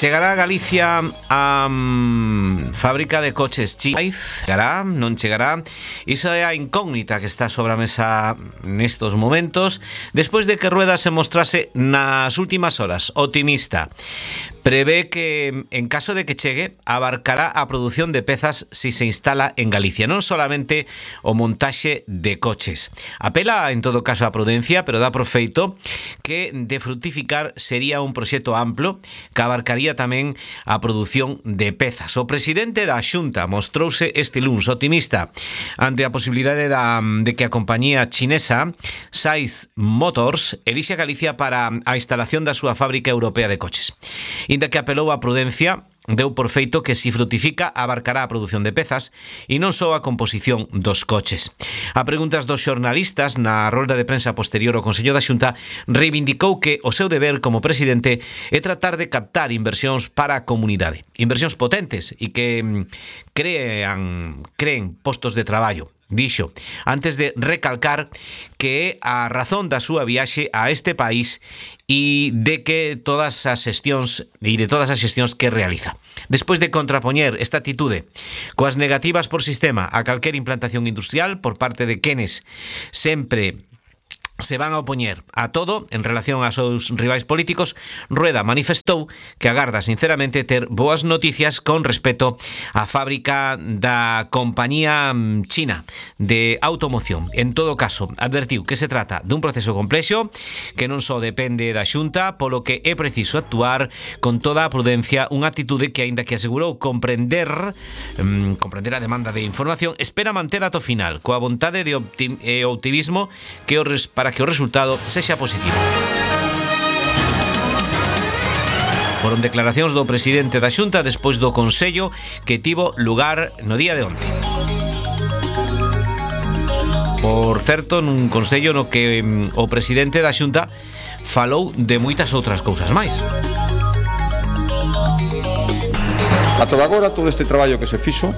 Chegará a Galicia a fábrica de coches China? Chegará, non chegará? Iso é a incógnita que está sobre a mesa nestos momentos, despois de que Rueda se mostrase nas últimas horas optimista. Prevé que, en caso de que chegue, abarcará a produción de pezas si se instala en Galicia, non solamente o montaxe de coches. Apela, en todo caso, a prudencia, pero dá por feito que de fructificar sería un proxecto amplo que abarcaría tamén a produción de pezas. O presidente da Xunta mostrouse este luns optimista ante a posibilidade de que a compañía chinesa Saiz Motors elixe a Galicia para a instalación da súa fábrica europea de coches. Inda que apelou á prudencia, deu por feito que si frutifica abarcará a produción de pezas e non só a composición dos coches. A preguntas dos xornalistas na rolda de prensa posterior ao Consello da Xunta, reivindicou que o seu deber como presidente é tratar de captar inversións para a comunidade, inversións potentes e que creen postos de traballo. Dixo, antes de recalcar que é a razón da súa viaxe a este país e de todas as xestións que realiza. Despois de contrapoñer esta atitude coas negativas por sistema a calquer implantación industrial por parte de quenes sempre se van a opoñer a todo en relación aos seus rivais políticos, Rueda manifestou que agarda sinceramente ter boas noticias con respecto á fábrica da compañía china de automoción. En todo caso, advertiu que se trata dun proceso complexo que non só depende da Xunta, polo que é preciso actuar con toda a prudencia, unha atitude que, aínda que asegurou comprender a demanda de información, espera manter ata o final, coa vontade de optimismo para que o resultado sexa positivo. Foron declaracións do presidente da Xunta despois do Consello que tivo lugar no día de onte. Por certo, nun Consello no que o presidente da Xunta falou de moitas outras cousas máis. A toda agora, todo este traballo que se fixo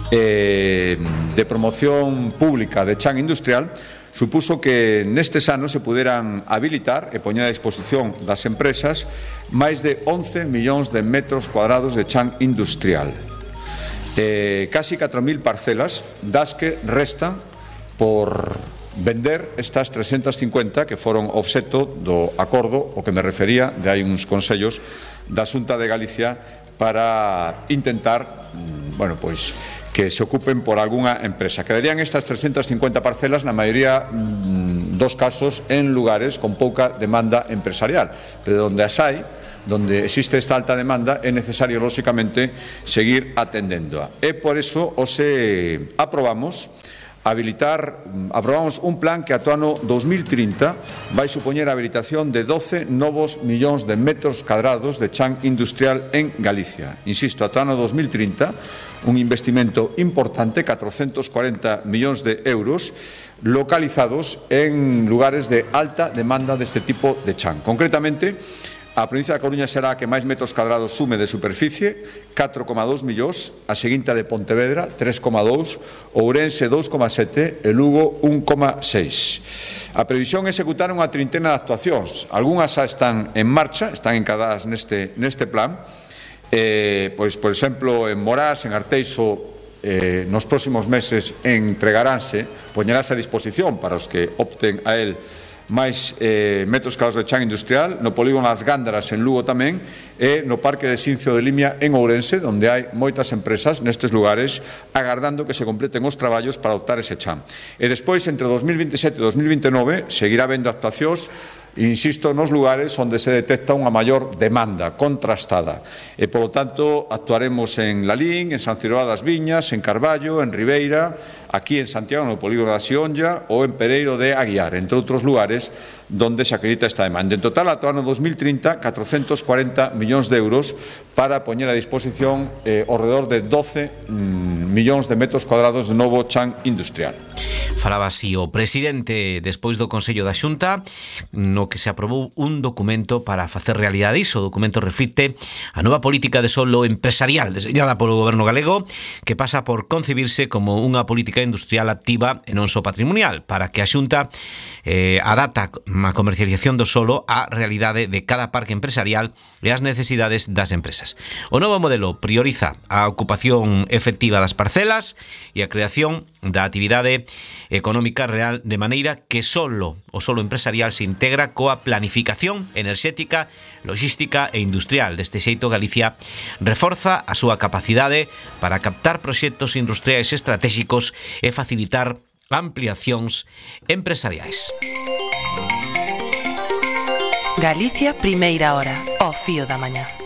de promoción pública de chan industrial supuso que nestes anos se puderan habilitar e poñer a disposición das empresas máis de 11 millóns de metros cuadrados de chan industrial. Casi 4.000 parcelas das que restan por vender estas 350 que foron obxecto do acordo o que me refería de hai uns consellos da Xunta de Galicia para intentar, que se ocupen por algunha empresa. Quedarían estas 350 parcelas na maioría dos casos en lugares con pouca demanda empresarial, pero donde as hai, donde existe esta alta demanda, é necesario, lóxicamente, seguir atendéndoa. E por eso aprobamos un plan que ata o ano 2030 vai supoñer a habilitación de 12 novos millóns de metros cadrados de chan industrial en Galicia. Insisto, ata o ano 2030, un investimento importante, 440 millóns de euros, localizados en lugares de alta demanda deste tipo de chan. Concretamente, a provincia da Coruña será a que máis metros cadrados sume de superficie, 4,2 millóns, a seguinte de Pontevedra, 3,2, Ourense 2,7 e Lugo 1,6. A previsión é executar unha trintena de actuacións. Algúnas xa están en marcha, están encadadas neste plan. Por exemplo, en Morás, en Arteixo, nos próximos meses entregaránse, poñerase a disposición para os que opten a él máis metros cadrados de chan industrial, no polígono As Gándaras en Lugo tamén, e no Parque de Xincio de Limia en Ourense, onde hai moitas empresas nestes lugares agardando que se completen os traballos para adoptar ese chan. E despois, entre 2027 e 2029, seguirá habendo actuacións, insisto, nos lugares onde se detecta unha maior demanda contrastada. E, polo tanto, actuaremos en Lalín, en San Cirobá das Viñas, en Carballo, en Ribeira, aquí en Santiago, no polígono da Xionlla, ou en Pereiro de Aguiar, entre outros lugares donde se acredita esta demanda. En total, ata o ano 2030, 440 millóns de euros para poñer a disposición ao redor de 12 millóns de metros cuadrados de novo chan industrial. Falaba así o presidente despois do Consello da Xunta, no que se aprobou un documento para facer realidade iso. O documento reflicte a nova política de solo empresarial deseñada polo goberno galego, que pasa por concebirse como unha política industrial activa e non só patrimonial, para que a Xunta adapta a comercialización do solo á realidade de cada parque empresarial e ás necesidades das empresas. O novo modelo prioriza a ocupación efectiva das parcelas e a creación da actividade económica real, de maneira que o solo empresarial se integra coa planificación enerxética, logística e industrial. Deste xeito, Galicia reforza a súa capacidade para captar proxectos industriais estratégicos e facilitar ampliacións empresariais. Galicia, primeira hora, ao fío da mañá.